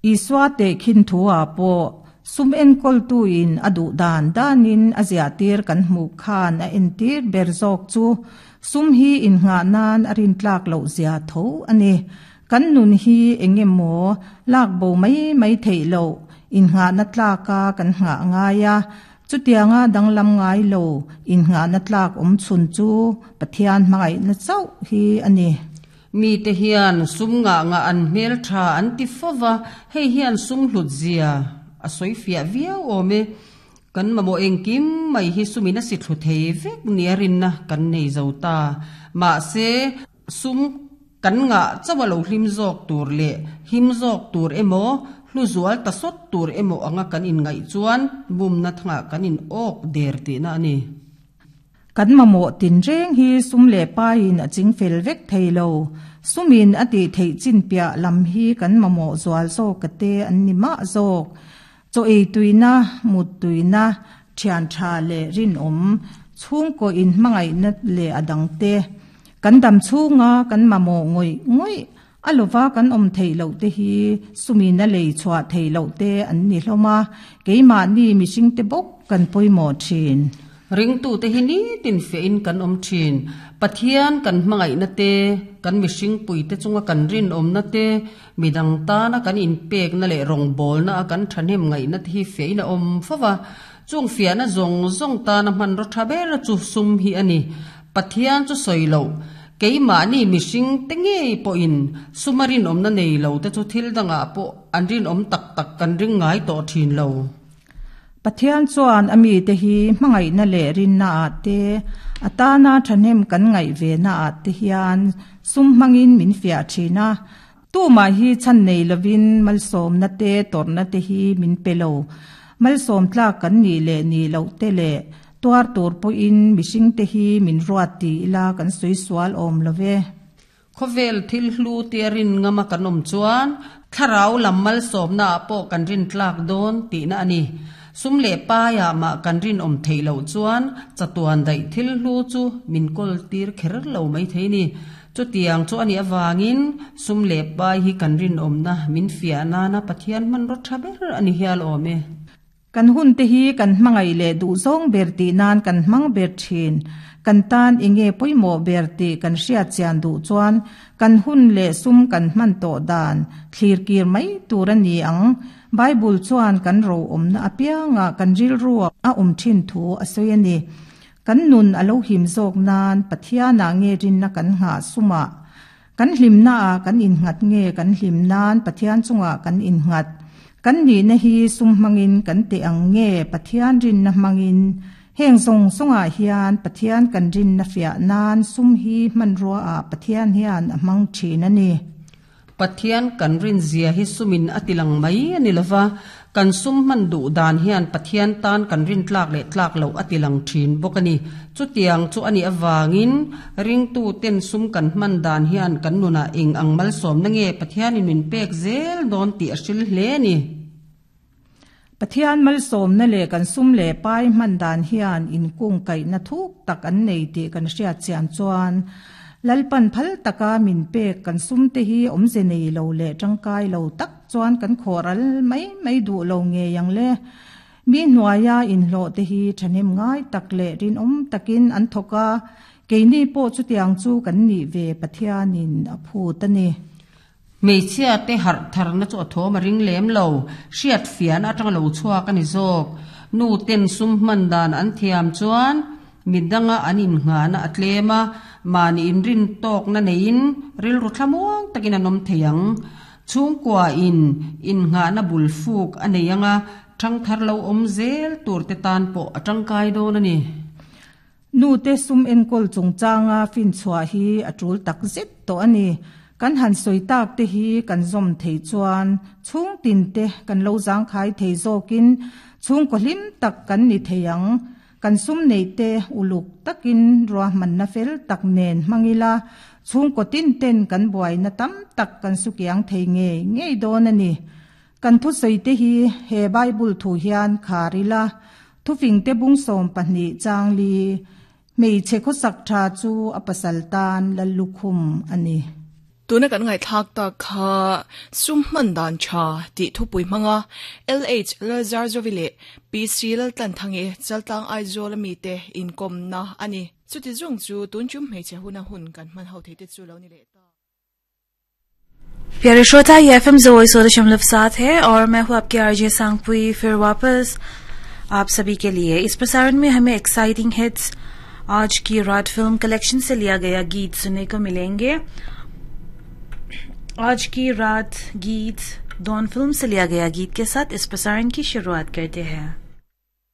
Isua tehkhin thu-ah pawh sum enkawltuin a duh dan danin a ziahtir kan hmuh khan a entir ber zawk chu sum hi innghah nan a rintlak loh zia tho a ni. Kan nun hi eng emaw lak bo mai mai theih loh innghahna tlaka kan nghah ngai a, chutianga danglam ngai lo innghahna tlak awm chhun chu Pathian hmangaihna chauh hi a ni. Mite hian sum ngah ngah an hmel tha an ti fo va, hei hian sum hlut zia a sawi fiah viau awm e. Kan mamawh engkim mai hi sumin a si thlu thei vek nia rinna kan nei zo ta. Mahse, sum kan ngah chauh a lo hlim zawk tur leh him zawk tur emaw, hlu zual ta sawt tur emaw anga kan inngaih chuan bumna thangah kan in awk der tihna a ni. Kan mamawh tinreng hi sum leh paiin a ching fel vek thei lo. Sumin a tih theih chin piah lam hi kan mamawh zual zawk a te an ni mah zawk. Chaw ei tuina, mut tuina, thian tha leh rinawm, chhungkaw inhmangaihna leh a dangte. Kan dam chhunga kan mamawh ngawih ngawih A lova kan awm theih loh te hi sumin a lei chhuah theih loh te an ni hlawm a, keimahni mihring te bawk kan pawimawh thin. Ringtute hi nitin fehin kan awm thin. Pathian kan hmangaihna te, kan mihringpuite chunga kan rinawmna te, midang tana kan inpekna leh rawngbawlna a kan thahnem ngaihna te hi fehin a awm fo va. Chung fiahna zawng zawng tana hmanraw tha ber chu sum hi a ni. Pathian chu sawi loh. Keimahni mihring te ngei pawhin suma rinawmna nei lo te chu thil dangah pawh an rinawm tak tak kan ring ngai tawh thin lo. Pathian chuan a mite hi hmangaihna leh rinna ah te, a tana thahnem kan ngaih ve na ah te hian sum hmangin min fiah thin a. Tumah hi chhan nei lovin malsawmna te tawrhna te hi min pe lo. Malsawm tlak kan nih leh nih loh te leh Tuar tur pawhin mihringte hi min ruat ti ila kan sawi sual awm lo ve. Khawvel thil hlu tia rin ngama kan awm chuan thlarau lam malsawmna ah pawh kan rin tlak dawn tihna a ni. Sum leh paiah mah kan rinawm theih loh chuan chatuan daih thil hlu chu min kawl tir kher lo mai thei ni. Chutiang chu a nih avangin sum leh pai hi kan rinawmna min fiah nana Pathian hmanraw tha ber a ni hial awm e. Kan hun te hi kan hmangaih leh duh zawng ber tih nan kan hmang ber thin. Kan tan enge pawimawh ber tih kan hriat chian duh chuan kan hun leh sum kan hman tawh dan thlir kir mai tur a ni ang. Bible chuan kan ro awmna apiangah kan rilru a awm thin thu a sawi a ni. Kan nun a lo him zawk nan Pathianah nge rinna kan nghah sumah Kan hlimnaah kan innghat nge kan hlim nan Pathian chungah kan innghat? Kan nihna hi sum hmangin kan teh ang nge Pathian rinna hmangin? Heng zawng zawngah hian Pathian kan rinna fiah nan sum hi hmanruaah Pathian hian a hmang thin a ni. Pathian kan rinzia hi sumin a tilang mai a ni lova, Kan sum hman duh dan hian Pathian tan kan rin tlak leh tlak loh a ti lang thin bawk a ni. Chutiang chu a nih avangin ringtuten sum kan hman dan hian kan nunah eng ang malsawmna nge Pathianin min pek zel dawn tih a hril hle a ni. Pathian malsawmna leh kan sum leh pai hman dan hian inkungkaihna thuk tak an nei tih kan hriat chian chuan Lalpan phal taka min pek kan sumte hi awmze nei lo leh tangkai lo tak Chuan kan khawh ral mai mai duh lo ngei ang le. Mi hnuaia inhlawh te hi thahnem ngai tak leh rinawm takin an thawk a, keini pawh chutiang chu kan nih ve Pathianin a phut a ni. Hmeichhia te harh tharna chu a thawm a ring lem lo, hriat fiahna atanga lo chhuak a ni zawk. Nu ten sum hman dan an thiam chuan midanga an innghahna a tlem a, mahni inrin tawkna neiin rilru thlamuang takin an awm thei ang. Chhungkua in innghahna bul fuk a nei anga thangthar lo awm zel tur te tan pawh a tangkai dawn a ni. Nute sum enkawl chungchanga finchhuah hi a tul tak zet tawh a ni. Kan han sawi tak te hi kan zawm thei chuan chhungtin te kan lo zangkhai thei zawkin chhungkaw hlim tak kan ni thei ang. Kan sum neih te uluk takin ruahmanna fel tak nen hmang ila, chhungkaw tin ten kan buaina tam tak kan sukiang thei ngei ngei dawn a ni. Kan thusawi te hi he Bible thu hian khar ila, thufing te bung 12 changli, hmeichhe khawsak tha chu a pasal tan Lallukhum a ni. Tuna kan ngaihthlak tak kha sum hman dan tha tih thupui hmanga LH Lalzarzovi leh PC Laltlanthangi Chaltlang Aizawl ami te inkawmna a ni. Chuti zawng chu tun tum hmeichhe huna hun kan hman ho thei te chu lo ni leh ta. प्यारे श्रोता ये F M दशमलव सात है और मैं हूँ आपके आरजे सांगपुई फिर वापस आप सभी के लिए इस प्रसारण में हमें एक्साइटिंग हिट्स आज की रात फिल्म कलेक्शन से लिया गया गीत सुनने को मिलेंगे आज की रात गीत डॉन फिल्म से लिया गया गीत के साथ इस प्रसारण की शुरुआत करते हैं।